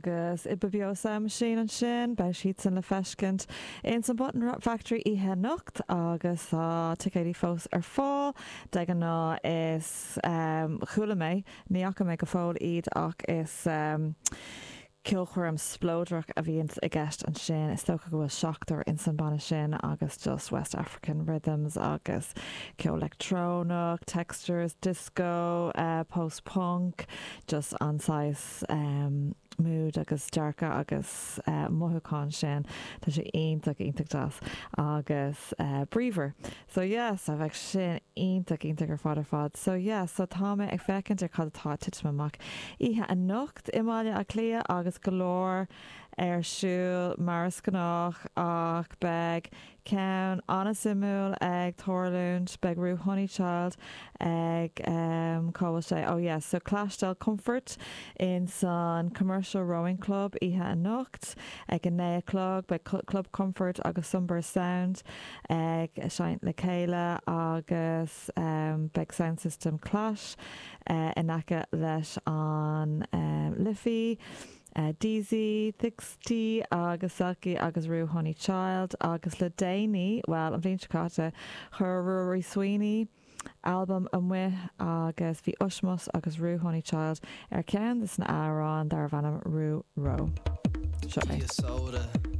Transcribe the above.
Agus Ibibio Sound Machine ansin, beidh siadsan le feiscint ins an Button Factory oíche anocht agus tá ticéidí fós ar fáil. De ghnáth is, chuala mé, ní fhaca mé go fóill iad ach is ceolchoirm spleodrach a bhíonns i gceist ansin. Is dócha go bhfuil seachtar ins an banna sin agus just West African rhythms agus ceol leictreonach, textures, disco, post punk, just an saghas mood agus dearcadh agus mothúchán sin. Tá sé iontach, iontach deas agus bríomhar. So yeah, so bheadh sin iontach, iontach ar fad ar fad. So yeah, so tá mé ag féachaint ar cad atá ag titim amach oíche anocht i mBaile Átha Cliath agus go leor ar siúl mar is gnách ach beidh Ceann an-suimiúil ag tarlúint, beidh Ruth Honeychild ag em cá bhfuil sé oh yes so Clash Del Comfort in san Commercial Rowing Club oíche anocht ag a 9 a chlog beidh Club Comfort agus Sunburst Sound ag seinnt le chéile agus em beidh Sound System Clash eh in aice leis an em Liffey. Deezy, Thixty agus Selkie agus Ruth Honeychild agus le déanaí, bhuel, an bhliain seo caite, chuir Ruairí Sweeney albam amuigh agus bhí Ushmus agus Ruth Honeychild ar cheann de na hamhráin darbh ainm Rú Ró. Seo é.